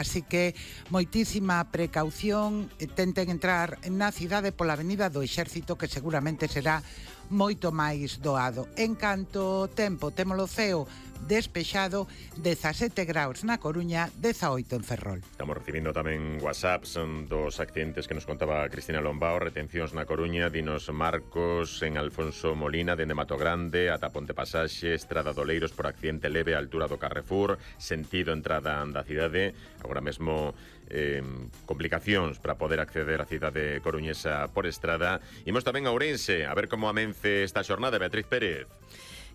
así que moitísima precaución, tenten entrar na cidade pola avenida do Exército, que seguramente será moito máis doado. En canto ao tempo, temos o ceo despexado, 17 graus na Coruña, 18 en Ferrol. Estamos recibindo tamén WhatsApps dos accidentes que nos contaba Cristina Lombao, retencións na Coruña, dinos Marcos en Alfonso Molina, dende Mato Grande ata Ponte Pasaxe, Estrada do Oleiros por accidente leve á altura do Carrefour, sentido entrada da cidade, agora mesmo complicacións para poder acceder á cidade coruñesa por estrada. Imos tamén a Ourense, a ver como amence esta xornada. Beatriz Pérez.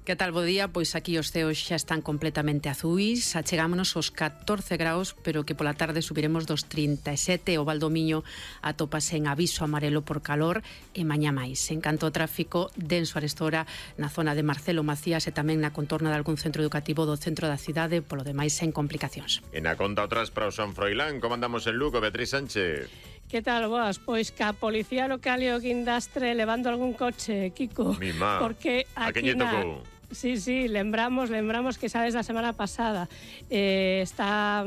Que tal, bo día? Pois aquí os ceos xa están completamente azuis, achegámonos aos 14 graus, pero que pola tarde subiremos dos 37, o Valdomiño atópase en aviso amarelo por calor e mañá máis. En canto ao tráfico, denso arestora na zona de Marcelo Macías e tamén na contorna de algún centro educativo do centro da cidade, polo demais sen complicacións. E na conta outras para o San Froilán, como andamos en Lugo, Beatriz Sánchez? Que tal, boas? Pois que a Policía Local e o Guindastre levando algún coche, Kiko. Mima, porque a quen lle tocou? Sí, lembramos que xa desde a semana pasada está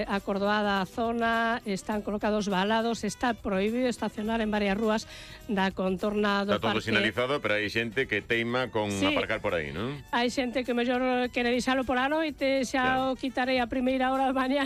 acordoada a zona, están colocados valados, está prohibido estacionar en varias rúas da contorna do parque. Está todo sinalizado, pero hai xente que teima con aparcar por aí, non? Hai xente que mellor quere deixalo por a noite, xa o quitarei a primeira hora da mañá.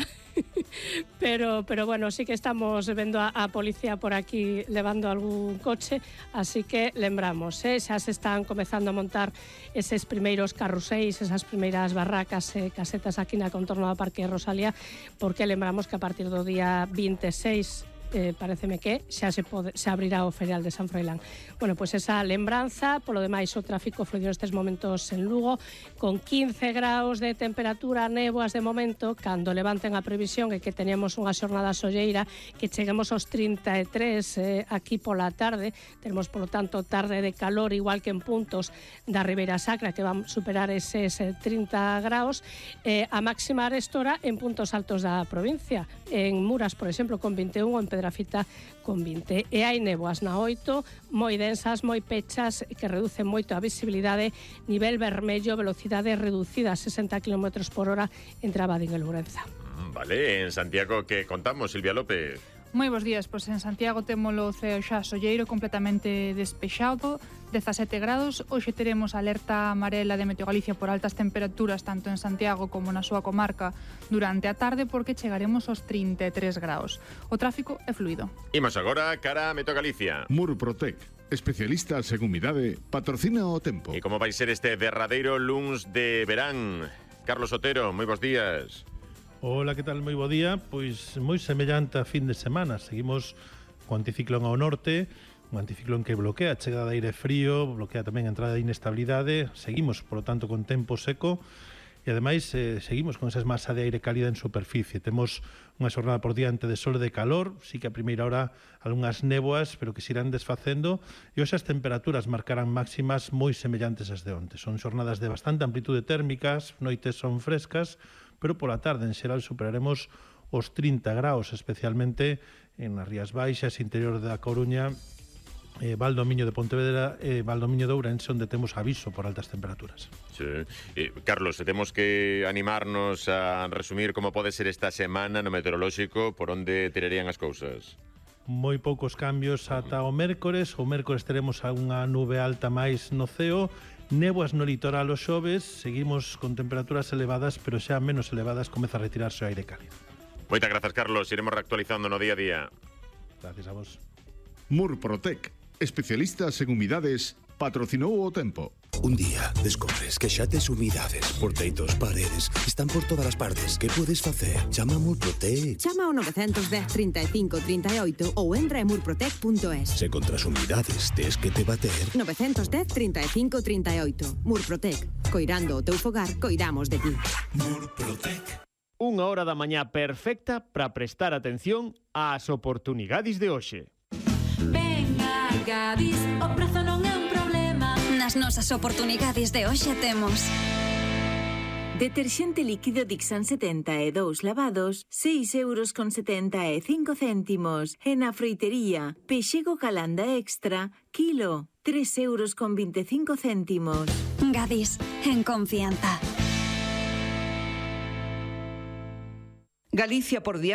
pero bueno, sí que estamos vendo a policía por aquí levando algún coche, así que lembramos, xa se están comezando a montar eses primeiros carruseis, esas primeiras barracas e casetas aquí na contorno do Parque Rosalía, porque lembramos que a partir do día 26 pareceme que xa se abrirá o ferial de San Froilán. Bueno, pois esa lembranza. Polo demais, o tráfico fluido nestes momentos en Lugo, con 15 graus de temperatura, néboas de momento, cando levanten a previsión e que teníamos unha xornada solleira, que cheguemos aos 33 aquí pola tarde. Tenemos, polo tanto, tarde de calor, igual que en puntos da Ribeira Sacra, que van superar eses 30 graus, a máxima arestora en puntos altos da provincia. En Muras, por exemplo, con 21, en Pedrafita con 20. E hai néboas na 8, moi densas, moi pechas, que reducen moito a visibilidade, nivel vermello, velocidade reducida a 60 km por hora entre Abadín e Lourenza. Vale, en Santiago, que contamos, Silvia López? Moi bons días, pois en Santiago temos o ceo xa solleiro, completamente despexado, 17 grados. Hoxe teremos alerta amarela de Meteo Galicia por altas temperaturas tanto en Santiago como na súa comarca durante a tarde, porque chegaremos aos 33 graus. O tráfico é fluido. Imos agora cara a Meteo Galicia. Murprotec, especialistas en humidade, patrocina o tempo. E como vai ser este derradeiro luns de verán? Carlos Otero, moi bons días. Hola, que tal? Moi bo día. Pois moi semellante a fin de semana. Seguimos co anticiclón ao norte, un anticiclón que bloquea a chegada de aire frío, bloquea tamén a entrada de inestabilidade. Seguimos, por lo tanto, con tempo seco e, ademais, seguimos con esas masa de aire cálida en superficie. Temos unha xornada por diante de sol e de calor, sí que a primeira hora algunhas néboas, pero que se irán desfacendo, e hoxe as temperaturas marcarán máximas moi semellantes ás de onte. Son xornadas de bastante amplitude térmicas, noites son frescas, pero pola tarde en xeral superaremos os 30 graus, especialmente en as Rías Baixas, interior da Coruña, Valdomiño de Pontevedra e Valdomiño de Ourense, onde temos aviso por altas temperaturas. Sí. Carlos, temos que animarnos a resumir como pode ser esta semana no meteorolóxico, por onde tirarían as cousas. Moi poucos cambios ata o mércores. O mércores teremos unha nube alta máis no ceo, néboas no litoral o xoves, seguimos con temperaturas elevadas, pero xa menos elevadas, comeza a retirarse o aire cálido. Moitas grazas, Carlos. Iremos reactualizando no día a día. Gracias a vos. Murprotec, especialistas en humidades, patrocinou o tempo. Un día descobres que xa tes humidades por teitos, paredes, están por todas as partes. Que podes facer? Chama a Murprotec. Chama ao 910 35 38 ou entra en murprotec.es. Se contra as humidades tes que te bater. 910 35 38. Murprotec. Coirando o teu fogar, coidamos de ti. Murprotec. Unha hora da mañá perfecta para prestar atención ás oportunidades de hoxe. Venga, Gadis, o prazo non é un problema. Nas nosas oportunidades de hoxe temos deterxente líquido Dixan 72 lavados, 6,75 €. E na froitería, pexego Calanda Extra, kilo, 3,25 €. Gadis, en confianza. Galicia por diante.